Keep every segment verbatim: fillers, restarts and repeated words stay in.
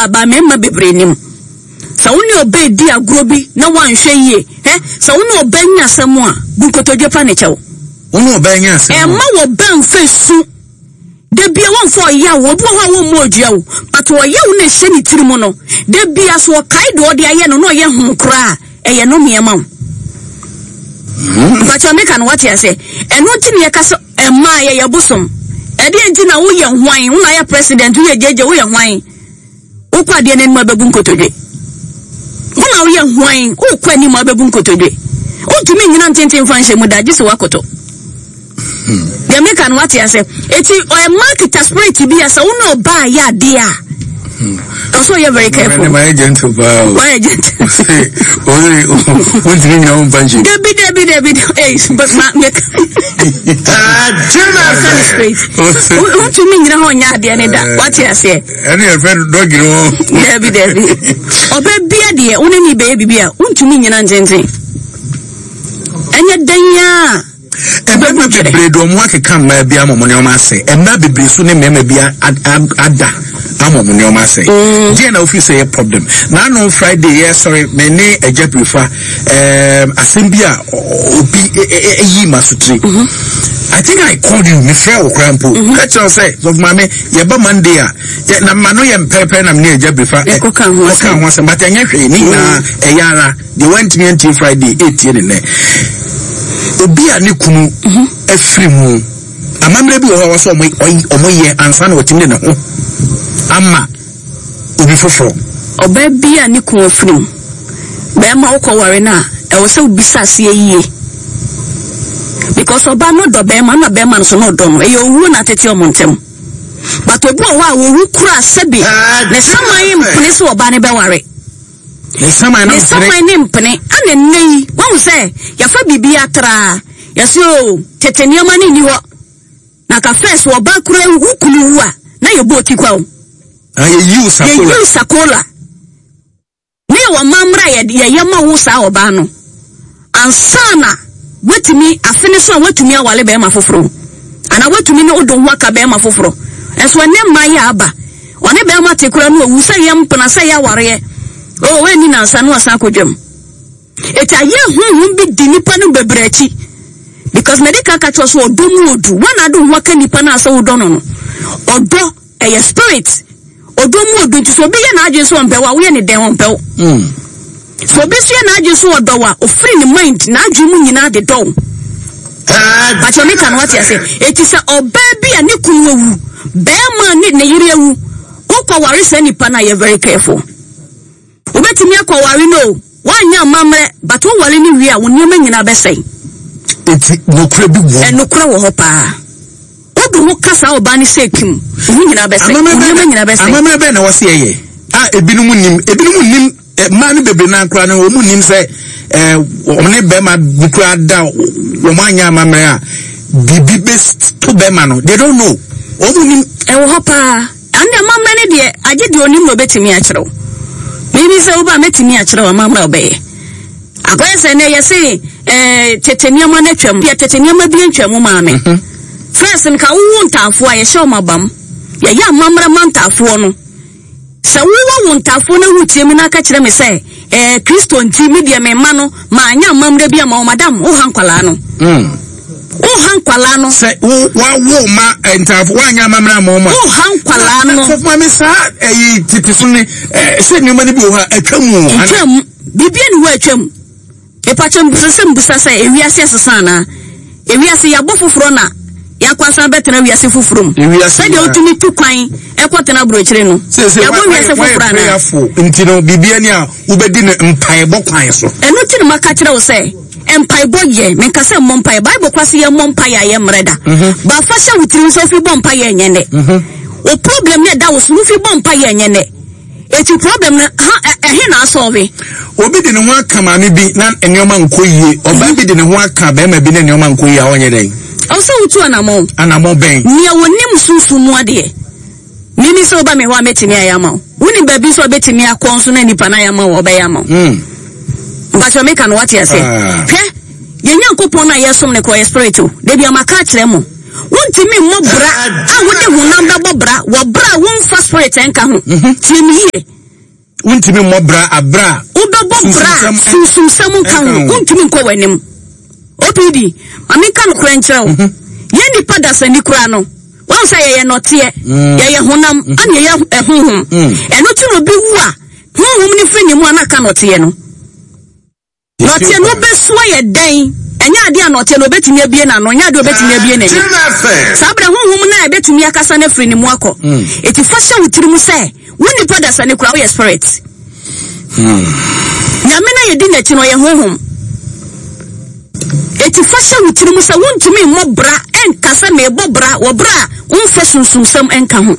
paa, ba mmarima bebree nim. Sɛ wo ne ɔbaa di agorɔ bi na woanhwɛ yie, hɛ, sɛ wo ne ɔbaa nya asɛm a, bu nkotodwe pa ne kyɛw. Wo ne ɔbaa nya asɛm a. Ɛmma wɔbaa mfa su. Da bia wɔmfa ɔyaw, obi wɔ hɔ a wɔmmɔ odua wo, but ɔyaw na ɛhyɛ ne tiri mu no, da bia so ɔkae deɛ ɔde ayɛ no na ɔyɛ ho koraa, ɛyɛ no mmeɛma wo. Mpakyɛ meka no wate ase. Ɛno nti na yɛka sɛ ɛmaa yɛyɛ bosom. Ɛdeɛ nti na woyɛ hwan, wo na yɛ president, woyɛ gyegye, woyɛ hwan. Wokɔ adeɛ no anim abɛbu nkotodwe. Wo na woyɛ hwan, wokɔ anim abɛbu nkotodwe. Wontumi nnyina ntenten mfa nhyɛ mu da, gye sɛ woakoto. Deɛ meka no wate ase. Eti ɛma kita spirit bi a sɛ wo ne ɔbaa yɛ adeɛ a, ɔsɛ ɔyɛ very careful. Mayɛ gentle paa o. Wayɛ gentle. Ɔsɛ wontumi nyina wo mpa nhyɛ. Dabi dabi dabi ee but ma meka. Ɔsɛ ne straight. Wontumi nyina hɔ nyɛ adeɛ ne da, wate aseɛ. Ɛne yɛfrɛ no dɔgi no. Dabi dabi. Ɔbɛ bia deɛ wo ne ne bɛyɛ biribi a wontumi nyina ntenten. Ɛnyɛ dɛn a. Mmarima bebree de wɔn akeka mmaa bi ama wɔn nneɛma asɛe. Mmaa bebree so ne mmarima bi ada ama wɔn nneɛma asɛe. Deɛ na ofiri sɛ yɛ problem. N'ano Friday yɛ sɔre me ne Agya Birifa ɛɛm asɛm bi a obi eyi ma so tiri. I think I called you, me frɛ wo koraa mpo. Ka kyerɛ wo sɛ sɔfo maame yɛba Monday a yɛ na ma no yɛ mpɛrɛpɛrɛ na me ne Agya Birifa kɔka ho asɛm, but ɛnyɛ hwee ne nyinaa ɛyɛ ara. Deɛ wantumi antie Friday etie ne nnɛ. Obi a ne kunu afiri mu, amammerɛ bi wɔ hɔ a wɔsɛ ɔmo yɛ ansa na wɔtumi de ne ho ama obi foforɔ. Ɔbaa bi a ne kunu afiri mu, bɛrima wokɔ ware no a, ɛwɔ sɛ wobisa aseɛ yie. Because ɔbaa no dɔ bɛrima na bɛrima no so na ɔdɔ no, ɛyɛ owuo na atete ɔmo ntɛm. But obi wɔ hɔ a owu kura sɛbi ne saman mpene sɛ ɔbaa no bɛware. Ne saman ne saman ne mpene. Ana nnɛ yi wahu sɛ yɛfa biribi atraa, yɛsɛ o tete nneɛma no nni hɔ. Na ka first ɔbaa kura wo kunu wu a na yɛbɔ oti kwa o. Ah, yɛyi wo sakola. Yɛyi wo sakola. Ne yɛwɔ amammerɛ a yɛyɛ ma wo saa ɔbaa no. Ansa na watumi afe ne so a watumi awale bɛrima foforɔ. Ana watumi ne wode ho aka bɛrima foforɔ. Ɛnso ɛnɛ mmaa yɛ aba. Ɔne bɛrima te kura no owu sɛ yɛ mpena sɛ yɛ awareɛ. Oh, ɛnni nansa no asan akɔdwam. Eti ayɛ honhom bi di nipa no bebree akyi. Because medical ka kyerɛ so ɔdɔ mu odu. Wɔn ade ho aka nipa no asɛ wodɔ no no. Ɔdɔ ɛyɛ spirit. Ɔdɔ mu odu nti so obi yɛ n'adwene so ɔmpɛ wo a woyɛ ne dɛn ɔmpɛ wo. So obi so yɛ n'adwene so ɔdɔ wo a ofiri ne mind n'adwene mu nyinaa de dɔ wo. Pakyɛ meka no wate ase. Eti sɛ ɔbaa bi a ne kunu awu, bɛrima ne ne yere awu, wokɔ ware saa nipa no a yɛ very careful. Wobɛtumi akɔware no o, woanyɛ amammerɛ, but woware no wie a wo nneɛma nyinaa bɛsɛe. Eti nokorɛ bi wɔ. Ɛnokorɛ wɔ hɔ paa. Wode ho ka saa ɔbaa no sɛ kim, wo ho nyinaa bɛsɛe, wo nneɛma nyinaa bɛsɛe. Amammerɛ bɛn na wɔse ɛyɛ a ebinom nim, ebinom nim mmaa no bebree naa koraa no wɔn nim sɛ ɛɛ wɔn ne bɛrima bi koraa da wɔn anyɛ amammerɛ a biribi bɛ to bɛrima no, they don't know, wɔn nim. Ɛwɔ hɔ paa. Ɛnde amammerɛ no deɛ agye deɛ onim na obɛtumi akyerɛ wo. Mimi sɛ woba mɛtumi akyerɛ wo amammerɛ a wobɛyɛ. Akɔyɛ sɛ nɛ yɛse eh, tete nneɛma no atwam. Deɛ tete nneɛma bi ntwam maame. First nka wowo ntaafoɔ a yɛhyɛ wɔn abam. Yɛyɛ amammerɛ ma ntaafoɔ no. Sɛ wowɔ wo ntaafoɔ no wotie mi na aka kyerɛ me sɛ eh, Kristo nti me deɛ me mma no maanyɛ amammerɛ bi ama wo, madam woha nkwalaa no. Mm. Woha nkwalaa no. Sɛ wo wawo ma ntaafo woanyɛ amammerɛ ama wɔn a. Woha nkwalaa no. Sɔfo maame saa ɛyi tete so ne sɛ nneɛma no bi wɔ hɔ a atwa mu. Atwa mu. Biribi ani hɔ atwa mu. Epakyɛ mbusa sɛ mbusa sɛ ewiase asesa anaa? Ewiase yɛabɔ foforɔ na yɛakɔ asan bɛtena wiase foforɔ mu. Sɛdeɛ wotumi tu kwan ɛkɔtena aburokyire no. Yɛabɔ wiase foforɔ anaa? Nti no biribi ani a wobɛdi no mpaebɔ kwan so. Ɛno ti na maka kyerɛ wo sɛ mpaebɔ yɛ, menka sɛ mmɔ mpaeɛ. Bible kwa sɛ yɛmmɔ mpaeɛ a yɛmmerɛ da. Bafa hyɛ wo tirim sɛ wofi bɔ mpaeɛ ɛnyɛ nnɛ. Wo problem no ɛda wo so no wofi bɔ mpaeɛ ɛnyɛ nnɛ. Eti problem no ha ɛhe na asɔre? Obi de ne ho aka maame bi na nneɛma nkɔ yie. Ɔbaa bi de ne ho aka bɛrima bi na nneɛma nkɔ yie a ɔnyɛ dɛn? Ɔsɛ wotu anamɔn. Anamɔn bɛn? Nea wɔnim sunsun mu adeɛ. Mimi sɛ woba me hɔ a mɛtumi ayɛ ama wo. Wonim baabi nso a wobɛtumi akɔ nso na nipa no ayɛ ama wo ɔbɛyɛ ama wo. Mpakyɛ meka no wate ase. Hwɛ, yɛn Nyankopɔn no a yɛsom no kɔ yɛ spirit o. Dabi a maka akyerɛ mo. Wontumi mmɔ bra a wode honam bɛbɔ bra wɔ bra a womfa spirit nka ho. Mhm. Tie me yie. Wontumi mmɔ bra abra a wobɛbɔ bra sunsumsɛm nka ho. Wontumi nkɔ w'anim. O P D, ma menka nokorɛ nkyerɛ wo. Mhm. Yɛn nipa dasani koraa no, wɔn sɛ yɛyɛ nɔteɛ, mm. yɛyɛ honam, mm. ana yɛyɛ honhom. Mm. Ɛno ti na obi wu a, honhom no firi ne mu a na aka nɔteɛ no. Nɔteɛ no bɛsoa yɛ dɛn? Ɛnyɛ adeɛ a nɔteɛ no obɛtumi abie n'ano, ɛnyɛ adeɛ a obɛtumi abie n'ani. Saa berɛ honhom no a ɛbɛtumi akasa no afiri ne mu akɔ. Eti fa hyɛ wo tiri mu sɛ wo nipa dasani koraa woyɛ spirit. Nyame no a yɛdi n'akyi no, ɔyɛ honhom. Eti fa hyɛ wo tiri mu sɛ wontumi mmɔ bra ɛnka sɛ meebɔ bra wɔ bra a womfa sunsumsɛm ɛnka ho.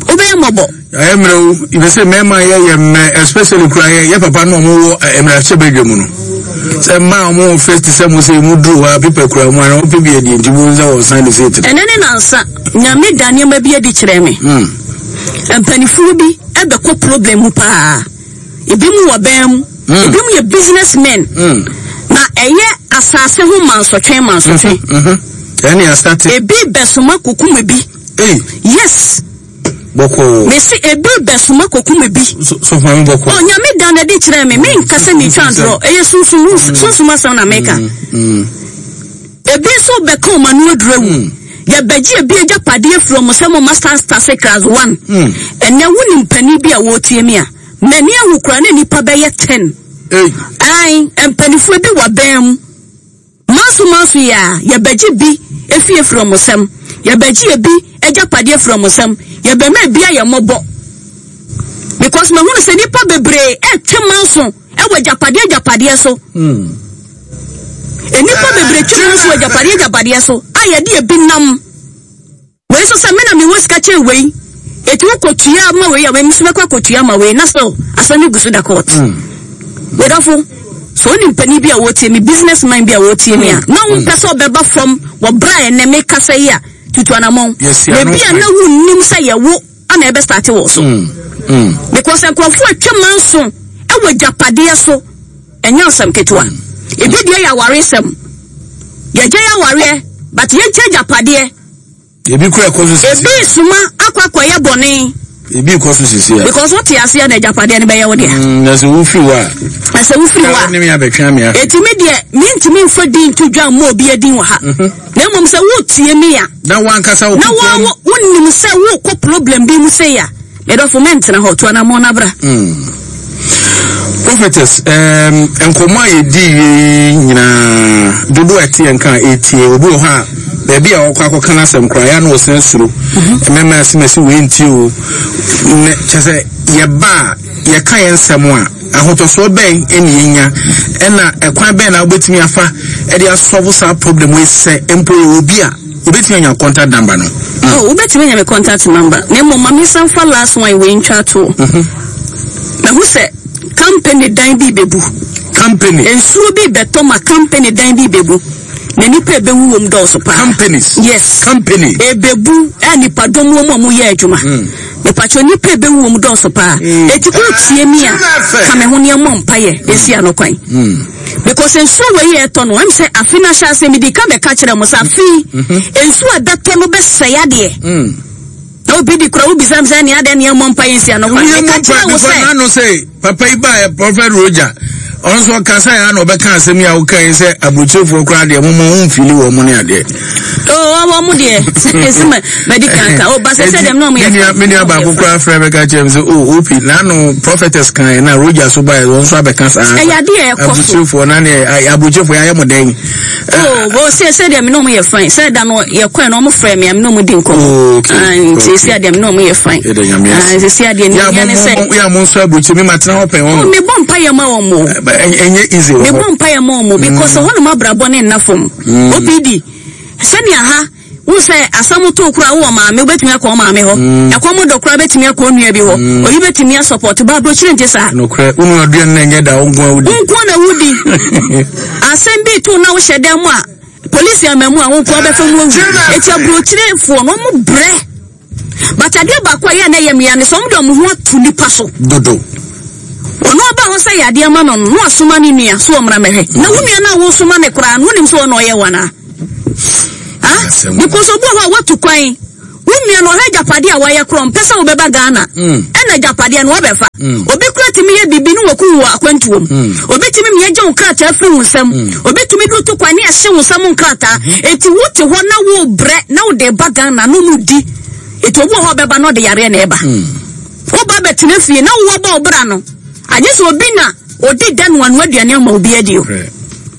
Wobɛyɛ mmɔbɔ. Ɛyɛ mmerɛ o, ibi sɛ mmarima yɛ yɛ mmerɛ, especially kura yɛ yɛ papa no ɔmo wɔ mmerɛhyɛ badwa mu no. Sɛ mmaa ɔmo wɔ first sɛ mo sɛ emu duru hɔ a pepa kura mu ana ɔpɛ bi adi nti mo nsa wɔn san de sɛ etiri. Ɛnɛ ne nansa, Nyame da nneɛma bi adi kyerɛ me. Mpanimfoɔ bi ɛbɛkɔ problem mu paa. Ebi mu wɔ bɛn mu, ebi mu yɛ business men. Na ɛyɛ asase ho mansɔtwe mansɔtwe. Ɛne asate. Ebi bɛsoma kokum ebi. Ei. Yes. Bɔkɔɔ. Mesi ebi bɛsoma kokum ebi. So so maame bɔkɔɔ. Oh, Nyame da na ɛde kyerɛ me. Menka sɛ metwa ntorɔ. Ɛyɛ sunsum sunsum asɛm na meka. Ebi nso bɛka ɔmo ano aduru awu. Yɛbɛgye ebi agyapadeɛ firi ɔmo sɛ mo ma start start class one. Ɛnɛ wonim panin bi a wɔretie mi a, m'ani ahu koraa ne nipa bɛyɛ ten. Ei. Ae, mpanimfoɔ bi wɔ bɛn mu. Manso manso yi a, yɛbɛgye bi efi efiri ɔmo nsam. Yɛbɛgye ebi agyapadeɛ firi ɔmo nsam. Yɛbɛma ebi ayɛ mmɔbɔ. Because mahunu sɛ nipa bebree ɛtwe manso ɛwɔ agyapadeɛ agyapadeɛ so. Nnipa bebree twe manso wɔ agyapadeɛ agyapadeɛ so a yɛde ebi nam. Wei nso sɛ me na mewɔ sika kyɛn wei. Eti wokɔtua ma wei a, wei nso bɛkɔ akɔtua ma wei na still asɛm no gu so da court. Medɔfo, sɛ wonim panin bi a wɔretie me, business man bi a wɔretie me a, na wompɛ sɛ ɔbɛba fam wɔ berɛ a ɛnɛ mekasa yi a, tutu anammɔn. Yɛsi ano Baabi a kwan. na wonnim sɛ yɛwo ana ɛbɛstart wɔ so. Because nkurɔfoɔ atwa manso ɛwɔ agyapadeɛ so, ɛnyɛ asɛm ketewa. Ebi deɛ yɛ awaresɛm. Yɛgye yɛ awareɛ, but yɛnkyɛ agyapadeɛ. Ebi kura ɛkɔ so sisi. Ebi soma akɔ akɔyɛ bɔne. Ebi kɔ so sisi a. Because wote aseɛ na agyapadeɛ no bɛyɛ wo dea. Mm, na sɛ wofiri hɔ a. Na sɛ wofiri hɔ a. Ne mi abɛtwe ame ahwɛ. Eti me deɛ mentumi nfa din nto dwa mmɔ obi adin wɔ ha. Na mmom sɛ wotie mi a. Na wankasa wo Na wo wonim sɛ wokɔ problem bi mu sei a, medɔfo mɛntena hɔ, to anammɔn na bra. Prophetess, um, nkɔmmɔ a yɛdi wie yi nyinaa dodoɔ a ɛte yɛn ka a ɛtie obi wɔ hɔ a baabi a ɔkɔ akɔka no asɛm koraa yɛ na ɔsan suro mɛma asemasi wei ntie o ne kyɛ sɛ yɛba a yɛka yɛn nsɛm a ahotɔsoɔ bɛn ɛne yɛnya ɛna ɛkwan bɛn na wobɛtumi afa ɛde asolve saa problem wei sɛ mpo yɛwɔ obi a yɛbɛtumi anya contact number no? Oh, wobɛtumi anya me contact number. Na mmom ma mensan fa last one wei ntwa to. Mahu sɛ company dan bi bɛbu. Company. Nsuo bi bɛtɔ ma company dan bi bɛbu. Na nipa ebewu wɔm dɔɔso paa. Companies. Yes. Company. Ebebu a nipa dɔm wɔ mu a wɔyɛ adwuma. Mipatwa nipa ebewu wɔm dɔɔso paa. Eti ko tie mi a, ka me ho nneɛma mpayɛ esi ano kwan. Because nsuo wɔ yi ɛtɔ no, ɛm sɛ afi na hyɛ ase mi di ka bɛka kyerɛ mo sɛ afi nsuo a ɛbɛtɔ no bɛsɛe adeɛ. Na obi di kura obi sam sɛ nea adeɛ nea mmɔ mpa yɛ nsi ano kwan. Woyɛ Meka mu kyerɛ pa wo because sɛ n'ano sɛ papa yi ba yɛ Prophet Roger, ɔno nso ɔkasa yɛ ana ɔbɛka asɛm yi a woka yi sɛ aburokyerefoɔ koraa deɛ moma wo mfili wɔ mo ne adeɛ. Oh, wɔn mo deɛ esi ma mɛdi kankan o ba sɛ sɛ dɛm na wɔn yɛ Me nua- me nua baako koraa frɛ bɛka kyerɛ me sɛ oh op n'ano prophetess kan yɛ na Roger so baeɛ wɔn nso abɛka saa. Ɛyɛ adeɛ a ɛkɔ so. Aburokyerefoɔ na ne aburokyerefoɔ yɛayɛ mo dɛn? Oh, bo sɛ sɛ deɛ me na wɔn yɛ fine sɛ da no yɛ kɔɛ na wɔn frɛ me a me na wɔn di nkɔmɔ. Oh, okay. Ah, nti esi adeɛ me na wɔn yɛ fine. Yɛda Nyame ase. Ah, esi adeɛ ne Yɛ a yɛ ne mo- sɛ mo- yɛ a mo nso aburokye mi ma tena hɔ pɛn oh, wɔn. me bɔ mpa yɛ ma wɔn o. Ɛnyɛ easy wɔ Me hɔ. bɔ mpa yɛ ma wɔn o because hɔnom abrabɔ ne nna fam. O P D sɛnea ha wo sɛ asɛm to kora wowɔ maame wobɛtumi akɔ wo maame hɔ, ɛkɔm dɔ kora wobɛtumi akɔ wo nua bi hɔ, oyi bɛtumi asupport ba aburokyire nte saa. Nokorɛ, wo nua aduane na ɛnyɛ da wo nko a wodi. Wo nko na wodi. Asɛm bi to na wohyɛ dan mu a polisi ama mu a wo nko abɛfa mu awu. Eti aburokyirefoɔ no ɔmo brɛ, but adeɛ baako a ɛyɛ a na ɛyɛ mmea ne sɛ ɔmo de ɔmo ho ato nipa so. Dodo. Ɔno ɔba hɔ sɛ yɛ adeɛ ma no no na wasoma ne nua so ɔmmra mɛhwɛ. Na wo nua no a wosoma ne koraa no, wonim sɛ ɔna ɔyɛ wo anaa? Ha. Because obi wɔ hɔ a watu kwan, wo nua no ɔhwɛ agyapadeɛ a wayɛ korɔ, mpɛ sɛ wobɛba Ghana Mm. ɛna agyapadeɛ no wɔbɛfa. Obi kora tumi yɛ biribi ne wɔku wɔ akwantuom. Obi tumi mia gye wo nkrataa firi wo nsam. Obi tumi de to kwan ne ɛhye wo nsam nkrataa. Eti wote hɔ na wobrɛ na wode ba Ghana no mu di. Eti obi wɔ hɔ a ɔbɛba na ɔde yareɛ na ɛba. Woba bɛtena fie na wowɔ bɔ wo bra no, agye sɛ obi na ɔdi da no ano aduane ama obi adi o.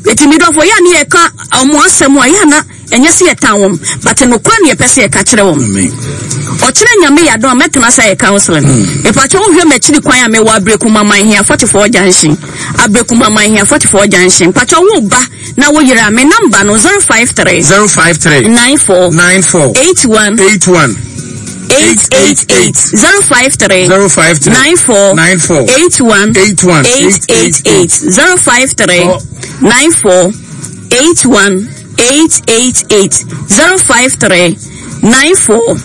Eti mi dɔfo, yɛ a ne yɛka ɔmo asɛm a, yɛ a na ɛnyɛ sɛ yɛtan wɔn, but nokora ne yɛpɛ sɛ yɛka kyerɛ wɔn. Amen. Ɔkyerɛ Nyame yɛ adom a, mɛtena sɛ yɛ counseling. Mepakyɛ, wohwɛ m'akyiri kwan a, mewɔ Abirekuma Manhia forty-four Junction, Abirekuma Manhia forty-four Junction. Mpakyɛ, wo ba na wo yere a, me number no zero five three zero five three nine four nine four eight one eight one eight eight eight. zero five three zero five three nine four nine four eight one eight one eight eight eight. zero five three nine four eight one eight eight eight. zero five three nine four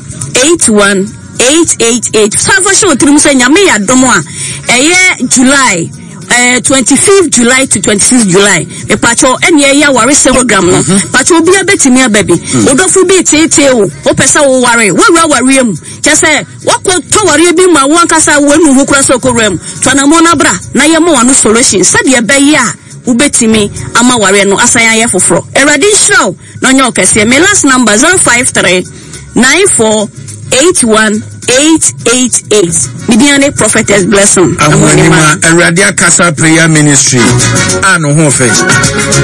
eight one eight eight eight. Sanfa hyɛ otirim sɛ Nyame yɛ adom a, ɛyɛ July eh, twenty-fifth July to twenty-sixth July, mepakyɛw, ɛne ɛyɛ awaresɛm program no. Pakyɛw, obiara bɛtumi aba bi. Wodɔfo bi teetee wo, wopɛ sɛ woware, woawura awareɛ mu, kyɛ sɛ wakɔ tɔ wareɛ bi ma wo ankasa wanu ho kora sɛ ɔkɔwura mu. To anammɔ no abra na yɛma wano solution sɛdeɛ ɛbɛyɛ a wobɛtumi ama wareɛ no asan ayɛ foforɔ. Awurade nhyira wo na ɔnyɛ wo kɛseɛ. Me last number zero five three nine four eight one eight eight eight. Media ne Prophetess Blessing. Ahoanima Awurade Akasa Prayer Ministry a no ho fɛ.